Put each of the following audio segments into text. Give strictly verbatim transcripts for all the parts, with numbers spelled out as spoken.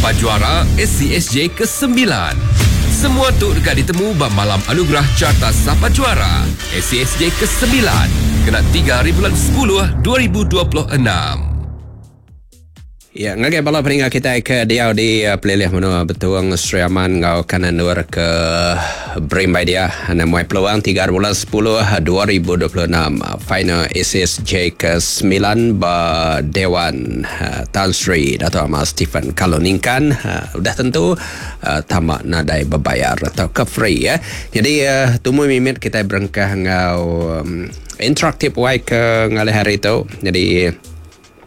Sapa juara S C S J kesembilan? Semua tu dekat ditemu ba Malam Anugerah Carta Sapa Juara S C S J kesembilan kena tiga hari bulan sepuluh dua ribu dua puluh enam. Ya, ngagai bala peninga kita ke diau di uh, pelilih menua Betuang, Sri Aman ngau kanan luar ke berimbai dia. Namai peluang tiga bulan sepuluh dua ribu dua puluh enam final S S J kesembilan ba Dewan uh, Tan Sri Dato' Amar Stephen Kalong Ningkan, uh, udah tentu uh, tamak nadai berbayar atau ke free ya. Jadi uh, tumu mimit kita berengkah ngau um, interaktif wai ke ngalih hari tu. Jadi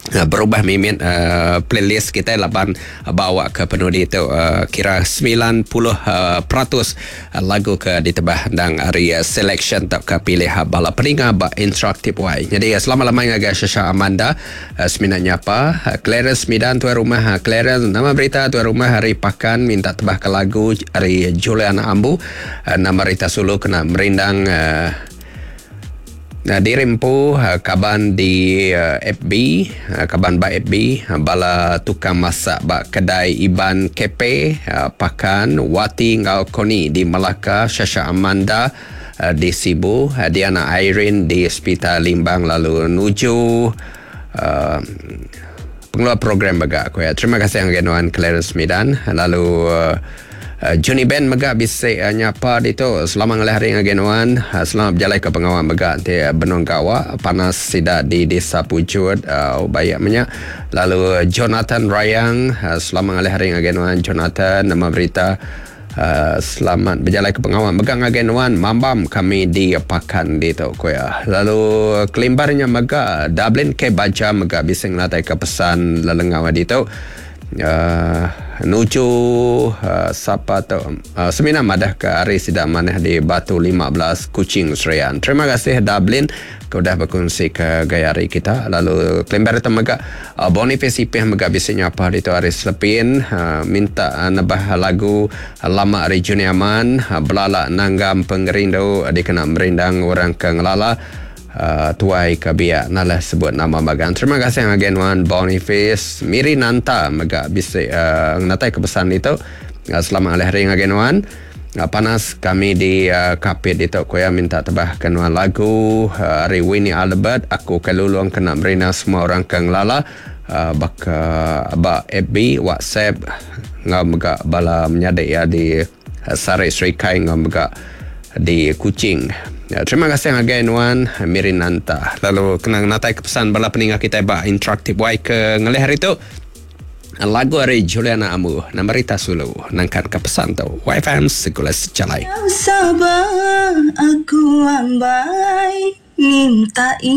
Uh, berubah mimit uh, playlist kita laban uh, bawa ke penudi itu uh, kira sembilan puluh uh, peratus uh, lagu ke ditebah dan hari uh, selection tak ke pilih uh, bala peninga ba interaktif wai. Jadi uh, selamat lamai ngagai Shasha Amanda, uh, seminatnya apa uh, Clarence Midan tuan rumah, uh, Clarence, nama berita tuan rumah hari Pakan, minta tebah ke lagu hari Juliana Ambu, uh, nama Rita Sulu, kena merindang uh, Nah, diri empu, uh, kaban di uh, F B, uh, kaban ba F B, bala tukang masak ba kedai Iban K P, Pakan, Wati ngau Koni di Melaka, Shasha Amanda di Sibu, Diana Irene di Hospital Limbang, lalu nuju uh, pengeluar program baga aku ya. Terima kasih yang Nuan Clarence Midan. Lalu uh, Uh, Johnny Ben mega bisa uh, nyapa di tu. Selamat ngalih hari ngagai nuan. Uh, selamat berjalan ke pengawal mega ti uh, benung gawa panas sida di Desa Pujut, uh, bayak minyak. Lalu Jonathan Rayang, uh, selamat ngalih hari ngagai nuan Jonathan, nama berita. Uh, selamat berjalan ke pengawal mega ngagai nuan mambam kami di Pakan di tu kuya. Lalu kelimbarnya mega Dublin ke baca mega bisa ngelatai ke pesan lelengau di tu, uh, nuju uh, siapa tu, uh, semina madah ke hari sidak manah di Batu lima belas Kuching Serian. Terima kasih Dublin ke udah berkongsi ke gaya hari kita. Lalu kelimbar itu mega uh, Boniface Ipih mega bisa nyapa di tu hari Selepin, uh, minta uh, nebah lagu uh, lama hari Junior Aman, uh, Belala Nanggam Pengerindu, uh, dikena merindang orang ke ngelala, uh, tuai ke biak nalah sebut nama bagan. Terima kasih ngagai nuan Boniface. Miri Nanta mega bisa uh, ngatai ke pesan itu. Uh, selamat alih hari ngagai nuan. Uh, panas kami di uh, Kapit itu koya, minta tebah ke nuan lagu uh, hari Winnie Albert, Aku Kelulung, kena merina semua orang ke ngelala uh, baka ba F B, WhatsApp ngau mega bala menyadik ya di uh, Sarai Serikai ngau mega di Kuching. Ya, terima kasih ngagai nuan Mirinanta. Lalu kena natai ke pesan bala peninga kita ba interaktif wai ke ngelih hari tu. Lagu hari Juliana Amu, nama Rita Sulu, nangkan ke pesan tu. Y F M segula sejalai. Sabar aku ambai minta